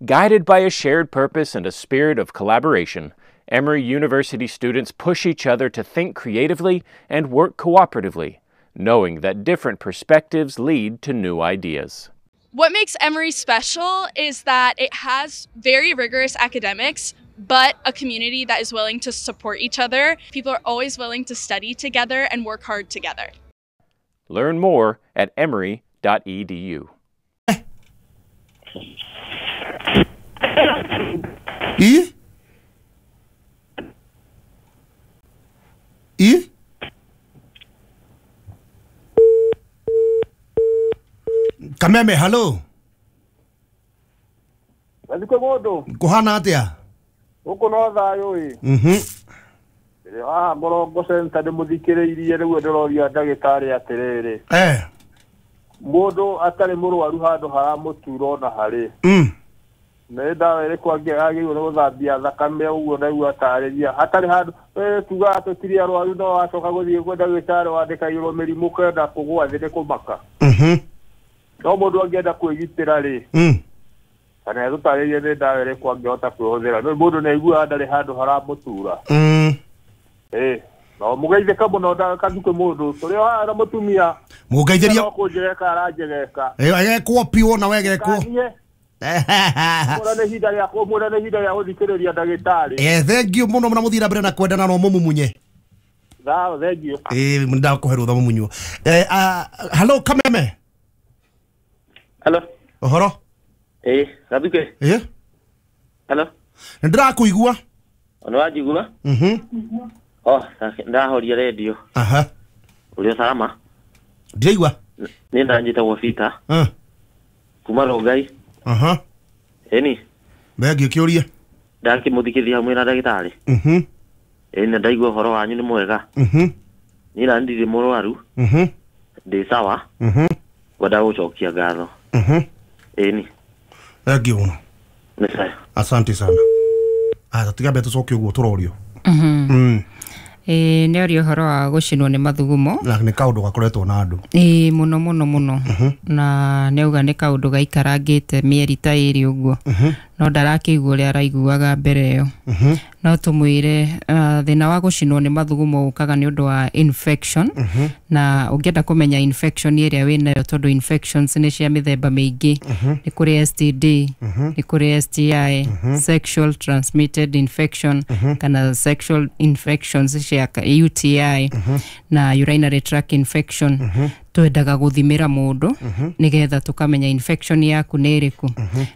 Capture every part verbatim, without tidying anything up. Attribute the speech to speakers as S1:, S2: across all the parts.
S1: Guided by a shared purpose and a spirit of collaboration, Emory University students push each other to think creatively and work cooperatively, knowing that different perspectives lead to new ideas.
S2: What makes Emory special is that it has very rigorous academics, but a community that is willing to support each other. People are always willing to study together and work hard together.
S1: Learn more at emory dot e d u.
S3: E? E? Kameme, hello.
S4: Aliko modo.
S3: Kuhana atia?
S4: Uko no thayo i.
S3: Mhm.
S4: Ah, Morongo Center nĩ mũthikĩrĩirie rĩu ndĩroria ndagĩtarĩ atĩrĩrĩ.
S3: Eh.
S4: Mũndũ atarĩ mũrwaru handũ haramũtura ona harĩ.
S3: Mm.
S4: Nĩ ndawa ĩrĩkũ angĩagĩrĩirwo nĩ gũthambia thakame ũguo ndaigua atarĩria hatarĩ handũ eh tugaga tũtirĩ arwaru no wacoka gũthiĩ kwĩ ndagĩtarĩ wandĩkagĩrwo mĩrimũ kenda kũgũa thĩ nĩ kũmaka.
S3: Mhm.
S4: No mũndũ angĩenda kwĩgitĩra rĩ.
S3: Mm.
S4: Kana tũtarĩrie nĩ ndawa ĩrĩkũ angĩhota kwĩhũthĩra. No mũndũ nĩ aiguaga ndarĩ handũ haramũtura.
S3: Mm.
S4: Eh, no mũgeithĩka mũno ndakathukĩ mũndũ tũrĩ o haha na mũtumia.
S3: Mũgeithĩrio.
S4: No kũnjegeka aranjegeka.
S3: Eh, agekwo piũ na we gekwo.
S4: Mwĩra nĩ ihinda rĩa mwĩra nĩ ihinda rĩa gũthikĩrĩria ndagĩtarĩ.
S3: Eh, thank you mũno na mũthiĩ na mbere na kwendana no mũmumunye.
S4: Tha, thank you.
S3: Eh, ndakũhe rũtha mũmunywo. Eh, hello Kameme.
S5: Hello.
S3: Ũhoro?
S5: Eh, Gathuke.
S3: Eh?
S5: Hello.
S3: Nĩ ndĩrakũigua.
S5: Nĩ wanjigua?
S3: Mhm.
S5: Oh, ndahoria radio.
S3: Aha.
S5: Ũrĩ salama?
S3: Ndiraigua.
S5: Nĩ ndanjĩtagwo Peter.
S3: Eh.
S5: Kuma Rongai.
S3: Aha.
S5: Ĩni.
S3: Thengiũ kĩũria.
S5: Ndakĩmũthikĩria hamwe na ndagĩtarĩ.
S3: Mhm.
S5: Ĩni na ndaigua ũhoro wanyu nĩ mwega.
S3: Mhm.
S5: Niĩ na ndirĩ mũrwaru.
S3: Mhm.
S5: Ndĩ sawa.
S3: Mhm.
S5: Ngwenda gũcokia ngatho.
S3: Mhm.
S5: Ĩni.
S3: Thengiũ mũno.
S5: Nĩ sawa.
S3: Asante sana. Ah, tũtigambe tũcoke ũguo tũrorio.
S6: Mhm.
S3: Mm.
S6: Eh, nĩ oria ũhoro wa gũcinwo nĩ mathugumo.
S3: Na nĩ kaũndũ gakoretwo na andũ.
S6: Ĩĩ mũno mũno mũno. Na nĩ auga nĩ kaũndũ gaikarangĩte mĩeri ta ĩrĩ ũguo. No ndarakĩigua ũrĩa araiguaga mbere ĩyo. No tũmwĩre uh, thĩna wa gũcinwo nĩ mathugumo ũkaga nĩ ũndũ wa infection. Na ũngĩenda kũmenya infection ĩrĩa wĩnayo tondũ infections nĩ cia mĩthemba mĩingĩ. Nĩ kũrĩ S T D, nĩ kũrĩ S T I, sexual transmitted infection, kana sexual infections cia U T I, na urinary tract infection. Twendaga gũthimĩra mũndũ nĩgetha tũkamenya infection yaku nĩ ĩrĩkũ.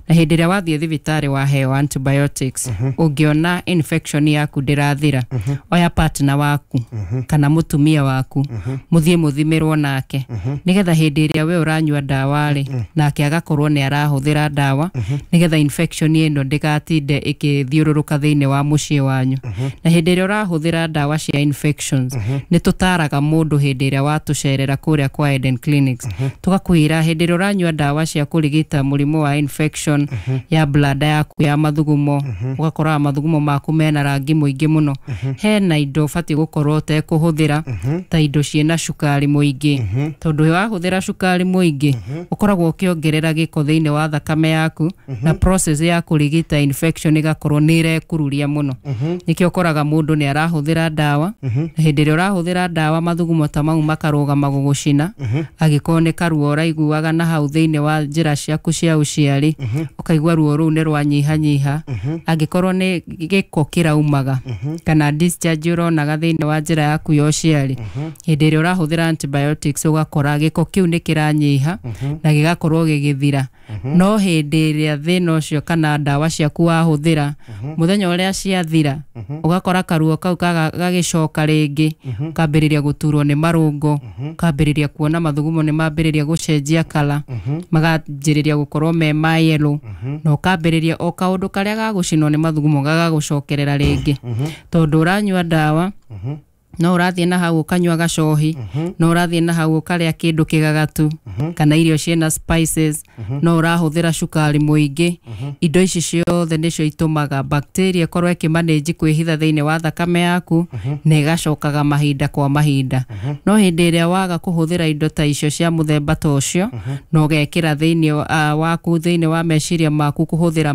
S6: Na hĩndĩ ĩrĩa wathiĩ thibitarĩ waheo antibiotics, ũngĩona infection yaku ndĩrathira, oya partner waku kana mũtumia waku mũthiĩ mũthimĩrwo nake nĩgetha hĩndĩ ĩrĩa we ũranyua ndawa rĩ, nake agakorwo nĩ arahũthĩra ndawa nĩgetha infection ĩno ndĩgatinde ĩkĩthiũrũrũka thĩinĩ wa mũciĩ wanyu. Na hĩndĩ ĩrĩa ũrahũthĩra ndawa cia infections, nĩ tũtaraga mũndũ hĩndĩ ĩrĩa watũcerera kũrĩa kwa Eden Clinics. Tugakwĩra hĩndĩ ĩrĩa ũranyua ndawa cia kũrigita mũrimũ wa infection ya bladder yaku ya mathugumo, ũgakora mathugumo maku mena rangi mũingĩ mũno, hena indo ũbatiĩ gũkorwo ũtekũhũthĩra ta indo ciĩna cukari mũingĩ, tondũ wahũthĩra cukari mũingĩ ũkoragwo ũkĩongerera gĩko thĩinĩ wa thakame yaku, na process ya kũrigita infection ĩgakorwo nĩ ĩrekururia mũno. Nĩkĩo ũkoraga mũndũ nĩ arahũthĩra ndawa, na hĩndĩ ĩrĩa ũrahũthĩra ndawa mathugumo ta mau makarũgama gũgũcina, angĩkorwo nĩ karuo ũraiguaga na hau thĩinĩ wa njĩra ciaku cia ũciari, ũkaigua ruo rũu nĩ rwanyihanyiha. Angĩkorwo nĩ gĩko kĩraumaga kana discharge ũronaga thĩinĩ wa njĩra yaku ya ũciari, hĩndĩ ĩrĩa ũrahũthĩra antibiotics ũgakora gĩko kĩu nĩ kĩranyiha na gĩgakorwo gĩgĩthira. No hĩndĩ ĩrĩa thĩna ũcio kana ndawa ciaku wahũthĩra, mũthenya ũrĩa ciathira, ũgakora karuo kau gagĩcoka rĩngĩ, ũkambĩrĩria gũturwo nĩ marũngo, ũkambĩrĩria kuona mathugumo nĩ mambĩrĩria gũcenjia kala, maganjĩrĩria gũkorwo me ma yellow, na ũkambĩrĩria o kaũndũ karĩa gagũcinwo nĩ mathugumo gagagũcokerera rĩngĩ, tondũ ũranyua ndawa no ũrathiĩ na hau ũkanyua gacohi, no ũrathiĩ na hau ũkarĩa kĩndũ kĩgagatu kana irio ciĩna spices, no ũrahũthĩra cukari mũingĩ. Indo ici ciothe nĩcio itũmaga bacteria ĩkorwo ĩkĩmanage kwĩhitha thĩinĩ wa thakame yaku na ĩgacokaga mahinda kwa mahinda. No hĩndĩ ĩrĩa waga kũhũthĩra indo ta icio cia mũthemba ta ũcio na ũgekĩra thĩinĩ waku thĩinĩ wa meciria maku kũhũthĩra